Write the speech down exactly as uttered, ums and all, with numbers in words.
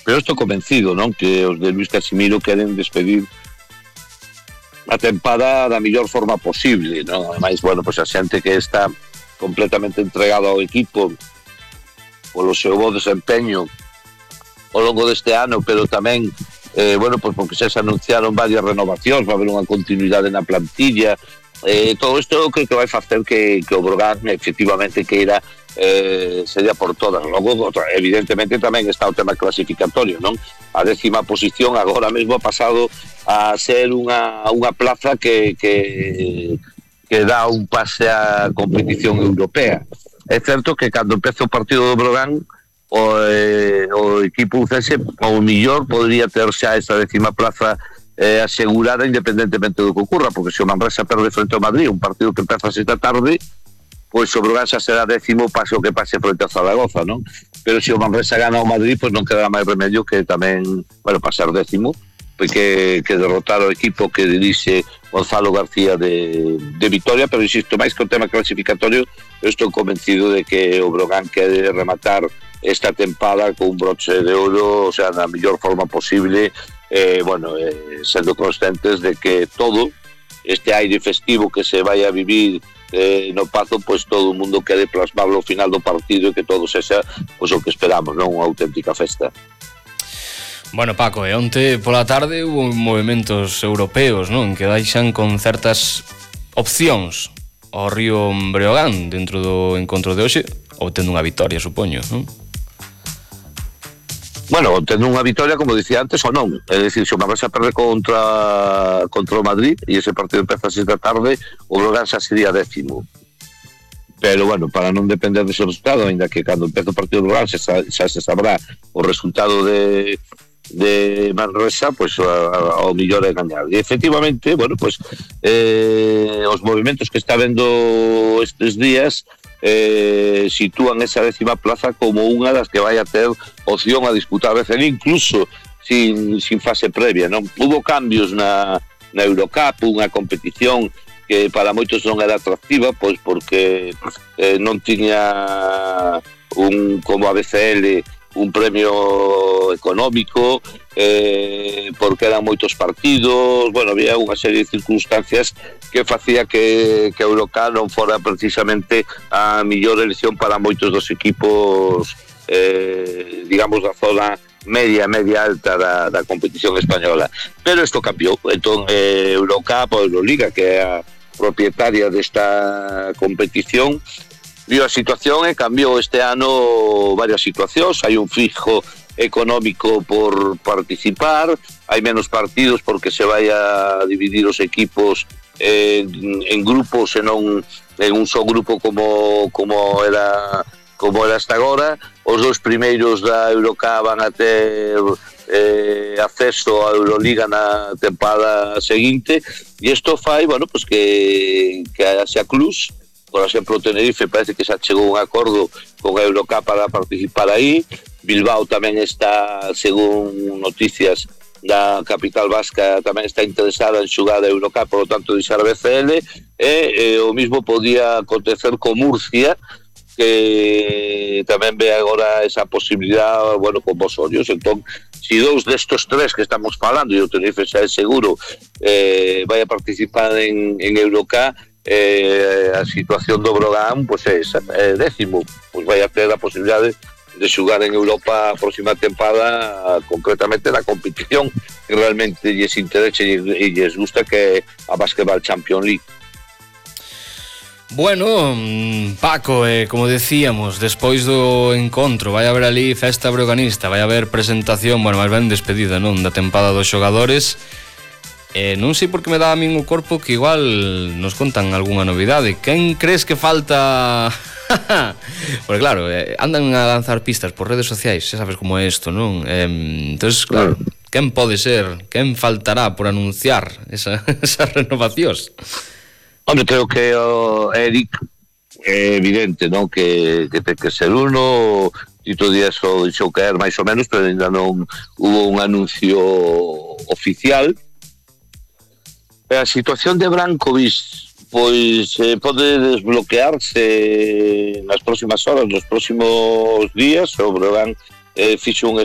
pero estou convencido, non, que os de Luis Casimiro queren despedir a tempada da mellor forma posible, non? Ademais, bueno, pois a xente que está completamente entregada ao equipo polo seu bo desempeño ao longo deste ano, pero tamén eh, bueno, pois porque xa se anunciaron varias renovacións, va haber unha continuidade na plantilla, eh, todo isto creo que vai facer que, que o Brogan efectivamente queira eh, sería por todas. Logo, evidentemente, tamén está o tema clasificatorio, non? A décima posición agora mesmo ha pasado a ser unha, unha plaza que, que, que dá un pase á competición europea. É certo que cando empeza o partido do Brogan, o, eh, o equipo ucense, ao millor, podría ter xa esa décima plaza eh, asegurada independentemente do que ocurra, porque se o Manresa perde frente ao Madrid, un partido que empeza esta tarde, pois o Brogan xa será décimo, pase o que pase frente a Zaragoza, non? Pero se o Manresa gana ao Madrid, pois non quedará máis remedio que tamén, bueno, pasar décimo, porque que derrotar o equipo que dirixe Gonzalo García de, de Vitoria, pero insisto, máis que o tema clasificatorio, eu estou convencido de que o Brogan quere rematar esta tempada con un broche de ouro, o sea, na mellor forma posible, eh, bueno, eh, sendo conscientes de que todo este aire festivo que se vai a vivir eh, no Pazo, pois todo o mundo quede plasmable ao final do partido e que todo sexa pois o que esperamos, non? Unha auténtica festa. Bueno, Paco, e onte pola tarde hubo movimentos europeos, non? Que deixan con certas opcións ao Río Breogán dentro do encontro de hoxe, obtendo unha vitoria, supoño, non? Bueno, tendo unha vitoria, como dicía antes, ou non. É dicir, se o Manresa perde contra contra o Madrid e ese partido empeza a seis da tarde, o Brogan xa sería décimo. Pero, bueno, para non depender dese resultado, ainda que cando empece o partido do Brogan xa, xa se sabrá o resultado de, de Manresa, pois pues, ao millor é gañar. E, efectivamente, bueno, pois pues, eh, os movimentos que está vendo estes días Eh, sitúan esa décima plaza como unha das que vai a ter opción a disputar a veces, incluso sin, sin fase previa, non? Hubo cambios na, na Eurocup, unha competición que para moitos non era atractiva, pois porque eh, non tiña un, como a B C L, un premio económico, eh, porque eran moitos partidos, bueno, había unha serie de circunstancias que facía que, que a Eurocup non fora precisamente a mellor elección para moitos dos equipos, eh, digamos, da zona media, media alta da, da competición española. Pero isto cambiou. Entón, eh, Eurocup ou Euroliga, que é a propietaria desta competición, viu a situación e cambiou este ano varias situacións. Hai un fijo económico por participar, hai menos partidos porque se vai a dividir os equipos en, en grupos e non en un só grupo como como era como era hasta agora. Os dois primeiros da Eurocup van a ter eh, acceso á Euroliga na tempada seguinte, e isto fai, bueno, pues que que a Asia Clus, por exemplo, o Tenerife parece que xa chegou un acordo con a Eurocup para participar aí. Bilbao tamén está, según noticias da capital vasca, tamén está interesada en xogar a Eurocup, por lo tanto, deixar a B C L, e eh, o mismo podía acontecer con Murcia, que tamén ve agora esa posibilidad, bueno, con vos ollos. Entón, si dous destos tres que estamos falando, e o Tenerife xa é seguro, eh, vai a participar en, en Eurocup, eh, a situación do Brogan, pois é esa, é décimo, pois vai a ter a posibilidade de xogar en Europa a próxima tempada, concretamente na competición que realmente lles interesa e lles gusta, que é a Basketball Champions League. Bueno, Paco, eh, como decíamos, despois do encontro vai haber ali festa broganista, vai haber presentación, bueno, máis ben despedida, non, da tempada dos xogadores. Eh, non sei por que me dá a min o corpo que igual nos contan algunha novidade. Quen crees que falta? Porque claro, eh, andan a lanzar pistas por redes sociais, xa sabes como é isto, non? Eh, entonces, claro, quen pode ser? Quen faltará por anunciar esa, esas renovacións? Hombre, creo que o Eric é evidente, non? Que, que ten que ser uno. Tito Díaz o dixou caer máis ou menos, pero ainda non hubo un anuncio oficial. A situación de Brankovic, pois eh, pode desbloquearse nas próximas horas, nos próximos días. O Brogan eh, fixo un